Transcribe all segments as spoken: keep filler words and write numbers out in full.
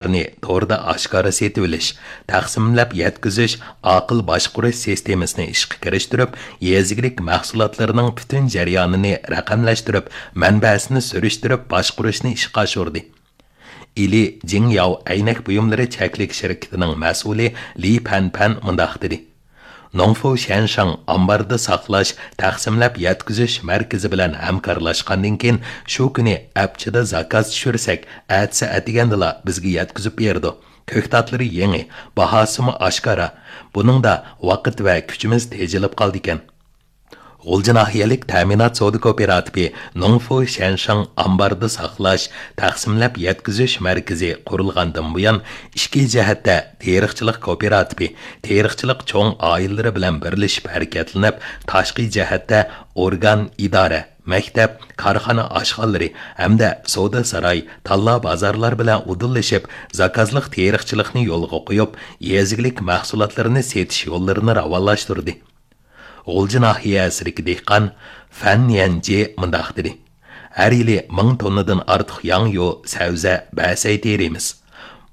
توردا ئاشكارا سېتىۋېلىش، تەقسىملەپ يەتكۈزۈش، ئاقىل باشقۇرۇش سىستېمىسىنى ئىشقا كىرىشتۈرۈپ، يېزا ئىگىلىك مەھسۇلاتلىرىنىڭ پۈتۈن جەريانىنى رەقەملەشتۈرۈپ، مەنبەسىنى سۈرۈشتۈرۈپ باشقۇرۇشنى ئىشقا ئاشۇردى. ئىلى جىڭياۋ ئەينەك بۇيۇملىرى چەكلىك شىركىتىنىڭ مەسئۇلى لى پەنپەن مۇنداق دېدى: نوڭفۇ شيەنشاڭ ئامباردا ساقلاش، تەقسىملەپ يەتكۈزۈش مەركىزى بىلەن ھەمكارلاشقاندىن كېيىن، شۇ كۈنى ئەپچىدە زاكاز چۈشۈرسەك، ئەتىسى ئەتىگەندىلا بىزگە يەتكۈزۈپ بېرىدۇ. كۆكتاتلىرى يېڭى، باھاسىمۇ ئاشكارا. بۇنىڭدا ۋاقىت ۋە كۈچىمىز تېجىلىپ قالىدىكەن. غۇلجا ناھىيەلىك تەمىنات سودا كوپىراتىپى نوڭفۇ شيەنشاڭ ئامباردا ساقلاش، تەقسىملەپ يەتكۈزۈش مەركىزى قۇرۇلغاندىن بۇيان، ئىچكى جەھەتتە تېرىقچىلىق كوپىراتىپى، تېرىقچىلىق چوڭ ئائىلىلىرى بىلەن بىرلىشىپ ھەرىكەتلىنىپ، تاشقى جەھەتتە ئورگان، ئىدارە، مەكتەپ، كارخانا ئاشخانىلىرى ھەمدە سودا ساراي، تاللا بازارلار بىلەن ئۇدۇللىشىپ، زاكازلىق تېرىقچىلىقنى يولغا قويۇپ، يېزا ئىگىلىك مەھسۇلاتلىرىنى سېتىش يوللىرىنى راۋانلاشتۇردى. غۇلجا ناھىيەسىدىكى دېھقان فەن يەنجى مۇنداق دېدى: ھەر يىلى مىڭ توننىدىن ئارتۇق ياڭيۇ، سەۋزە، بەسەي تېرىيمىز.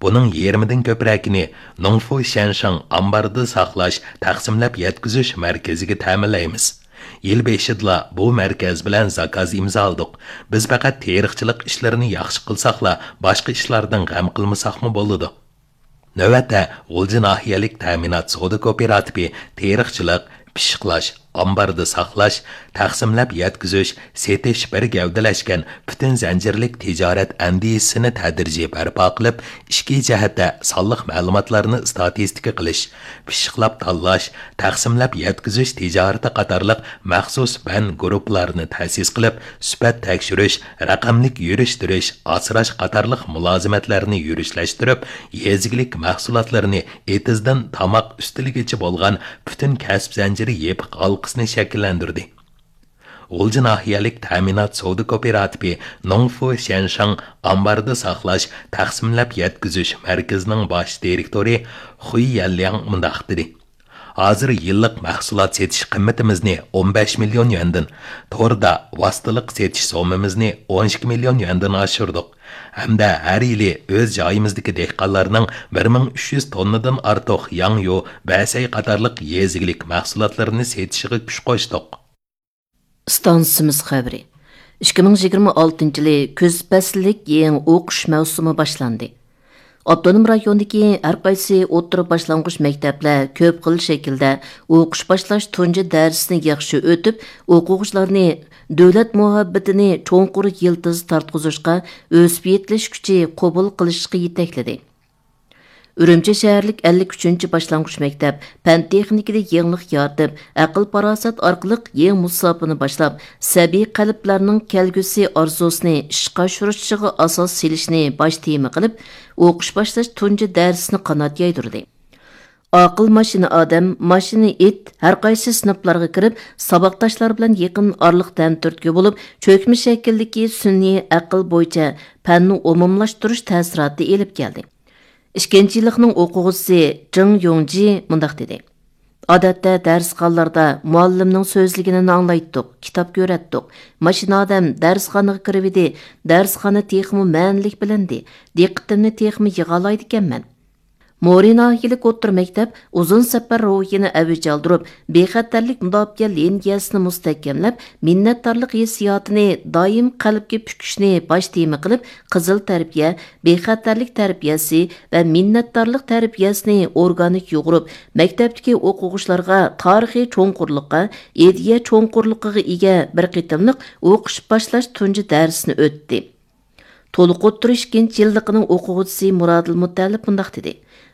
بۇنىڭ يېرىمىدىن كۆپرەكىنى نوڭفۇ شيەنشاڭ ئامباردا ساقلاش، تەقسىملەپ يەتكۈزۈش مەركىزىگە تەمىنلەيمىز. يىل بېشىدىلا بۇ مەركەز بىلەن زاكاز ئىمزالىدۇق. بىز پەقەت تېرىقچىلىق ئىشلىرىنى ياخشى قىلساقلا، باشقا ئىشلاردىن غەم قىلمىساقمۇ بولىدۇ. نۆۋەتتە، غۇلجا ناھىيەلىك تەمىنات سودا كوپىراتىپى تېرىقچىلىق، پىششىقلاش، ئامباردا ساقلاش، تەقسىملەپ يەتكۈزۈش، سېتىش بىر گەۋدىلەشكەن پۈتۈن زەنجىرلىك تىجارەت ئەندىزىسىنى تەدرىجىي بەرپا قىلىپ، ئىچكى جەھەتتە سانلىق مەلۇماتلارنى ئىستاتىستىكا قىلىش، پىششىقلاپ تاللاش، تەقسىملەپ يەتكۈزۈش تىجارىتى قاتارلىق مەخسۇس پەن گۇرۇپپىلارنى تەسىس قىلىپ، سۈپەت تەكشۈرۈش، رەقەملىك يۈرۈشتۈرۈش، ئاسراش قاتارلىق مۇلازىمەتلەرنى يۈرۈشلەشتۈرۈپ، يېزا ئىگىلىك مەھسۇلاتلىرىنى ئېتىزدىن تاماق ئۈستىلىگىچە بولغان پۈتۈن كەسىپ زەنجىرى يېپىق ھالقىسىنى شەكىللەندۈردى. غۇلجا ناھىيەلىك تەمىنات سودا كوپىراتىپى نوڭفۇ شيەنشاڭ ئامباردا ساقلاش، تەقسىملەپ يەتكۈزۈش مەركىزىنىڭ باش دىرېكتورى خۇي يەنلياڭ مۇنداق دېدى: ھازىر يىللىق مەھسۇلات سېتىش قىممىتىمىزنى ئون بەش مىليون يۈەندىن، توردا ۋاسىتىلىق سېتىش سوممىمىزنى ئون ئىككى مىليون يۈەندىن ئاشۇردۇق ھەمدە ھەر يىلى ئۆز جايىمىزدىكى دېھقانلارنىڭ بىر مىڭ ئۈچ يۈز توننىدىن ئارتۇق ياڭيۇ، بەسەي قاتارلىق يېزا ئىگىلىك مەھسۇلاتلىرىنى سېتىشىغا كۈچ قوشتۇق. ئىستانسىمىز خەۋىرى. ئىككى مىڭ يىگىرمە ئالتىنچى يىلى كۈز پەسىللىك يېڭى ئوقۇش مەۋسۇمى باشلاندى. ئاپتونوم رايوندىكى ھەر قايسى ئوتتۇرا باشلانغۇچ مەكتەپلەر كۆپ خىل شەكىلدە ئوقۇش باشلاش تۇنجى دەرسىنى ياخشى ئۆتۈپ، ئوقۇغۇچىلارنى دۆلەت مۇھەببىتىنى چوڭقۇر يىلتىز تارتقۇزۇشقا، ئۆسۈپ يېتىلىش كۈچى قوبۇل قىلىشقا يېتەكلىدى. ئۈرۈمچى شەھەرلىك ئەللىك ئۈچىنچى باشلانغۇچ مەكتەپ پەن تېخنىكىدا يېڭىلىق يارىتىپ، ئەقىل-پاراسەت ئارقىلىق يېڭى مۇساپىنى باشلاپ، سەبىي قەلبلەرنىڭ كەلگۈسى ئارزۇسىنى ئىشقا ئاشۇرۇشىغا ئاساس سېلىشنى باش تېما قىلىپ، ئوقۇش باشلاش تۇنجى دەرسىنى قانات يايدۇردى. ئاقىل ماشىنا ئادەم، ماشىنا ئىت ھەر قايسى سىنىپلارغا كىرىپ، ساۋاقداشلار بىلەن يېقىن ئارىلىق تەم تۈرتكە بولۇپ، چۆكمە شەكىلدىكى سۈنئىي ئەقىل بويىچە پەننى ئومۇملاشتۇرۇش تەسىراتى ئېلىپ كەلدى. ئىككىنچى يىللىقنىڭ ئوقۇغۇچىسى جېڭ يوڭجى مۇنداق دېدى: ئادەتتە دەرسخانىلاردا مۇئەللىمنىڭ سۆزلىگىنىنى ئاڭلايتتۇق، كىتاب كۆرەتتۇق. ماشىنا ئادەم دەرسخانىغا كىرىۋىدى، دەرسخانا تېخىمۇ مەنىلىك بىلىندى، دىققىتىمنى تېخىمۇ يىغالايدىكەنمەن. مورى ناھىيەلىك ئوتتۇرا مەكتەپ ئۇزۇن سەپەر روھىنى ئەۋج ئالدۇرۇپ، بىخەتەرلىك مۇداپىئە لىنىيەسىنى مۇستەھكەملەپ، مىننەتدارلىق ھېسسىياتىنى دائىم قەلبكە پۈكۈشنى باش تېما قىلىپ، قىزىل تەربىيە، بىخەتەرلىك تەربىيەسى ۋە مىننەتدارلىق تەربىيەسىنى ئورگانىك يۇغۇرۇپ، مەكتەپتىكى ئوقۇغۇچىلارغا تارىخىي چوڭقۇرلۇققا، ئىدىيە چوڭقۇرلۇقىغا ئىگە بىر قېتىملىق ئوقۇش باشلاش تۇنجى دەرسىنى ئۆتتى. تولۇق ئوتتۇرا ئىككىنچى يىللىقىنىڭ ئوقۇغۇچىسى مۇرادىل مۇتەللىپ مۇنداق دېدى: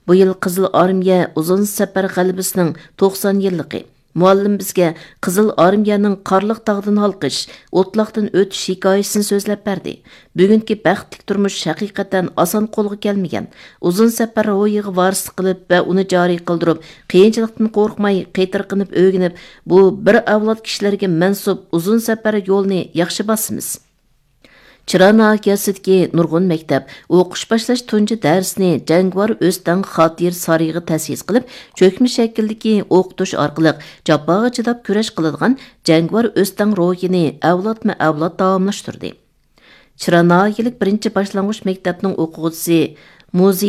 بۇ يىل قىزىل ئارمىيە ئۇزۇن سەپەر غەلىبىسىنىڭ توقسان يىللىقى. مۇئەللىم بىزگە قىزىل ئارمىيەنىڭ قارلىق تاغدىن ھالقىش، ئوتلاقتىن ئۆتۈش ھېكايىسىنى سۆزلەپ بەردى. بۈگۈنكى بەختلىك تۇرمۇش ھەقىقەتەن ئاسان قولغا كەلمىگەن. ئۇزۇن سەپەر روھىغا ۋارىسلىق قىلىپ ۋە ئۇنى جارى قىلدۇرۇپ، قىيىنچىلىقتىن قورقماي، قېتىرقىنىپ ئۆگىنىپ، بۇ بىر ئەۋلاد كىشىلەرگە مەنسۇپ ئۇزۇن سەپەر يولىنى ياخشى باسىمىز. چىرا ناھىيەسىدىكى نۇرغۇن مەكتەپ ئوقۇش باشلاش تۇنجى دەرسىنى جەڭگىۋار ئۆستەڭ خاتىرە سارىيىغا تەسىس قىلىپ، چۆكمە شەكىلدىكى ئوقۇتۇش ئارقىلىق جاپاغا چىداپ كۈرەش قىلىدىغان جەڭگىۋار ئۆستەڭ روھىنى ئەۋلادمۇ ئەۋلاد داۋاملاشتۇردى. چىرا ناھىيەلىك بىرىنچى باشلانغۇچ مەكتەپنىڭ ئوقۇغۇچىسى مۇزېي